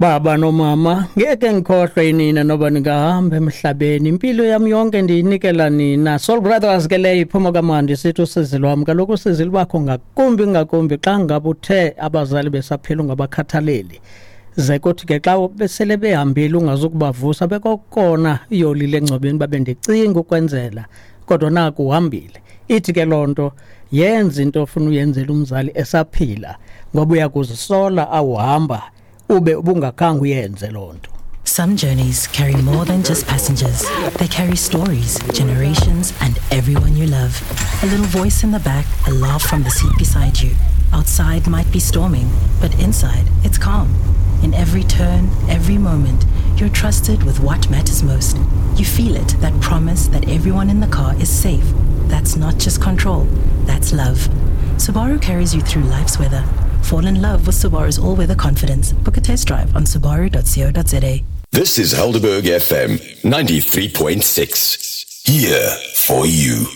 Baba nomama, ngeke ngikhohlwe nina noba ningahamba emhlabeni. Impilo yami yonke ndiyinikela nina. Soul Brothers ke leyo iphuma kamandi sithi usizi lwam. Kaloku usizi lubakho ngakumbi ngakumbi xa ngabe uthe abazali besaphila ungabakhathaleli. Ze kuthi ke xa besele behambile ungazukubavusa bekokona iyolile engcwabeni babe ndicinga ukwenzela kodwa naku uhambile. Ithi ke loo nto yenza into ofuna uyenzela umzali esaphila ngoba uyakuzisola awuhamba ube ubungakhange uyenze loo nto. Some journeys carry more than just passengers. They carry stories, generations, and everyone you love. A little voice in the back, a laugh from the seat beside you. Outside might be storming, but inside it's calm. In every turn, every moment, you're trusted with what matters most. You feel it, that promise that everyone in the car is safe. That's not just control, that's love. Subaru carries you through life's weather. Fall in love with Subaru's all weather confidence. Book a test drive on subaru.co.za. This is Helderberg FM 93.6. Here for you.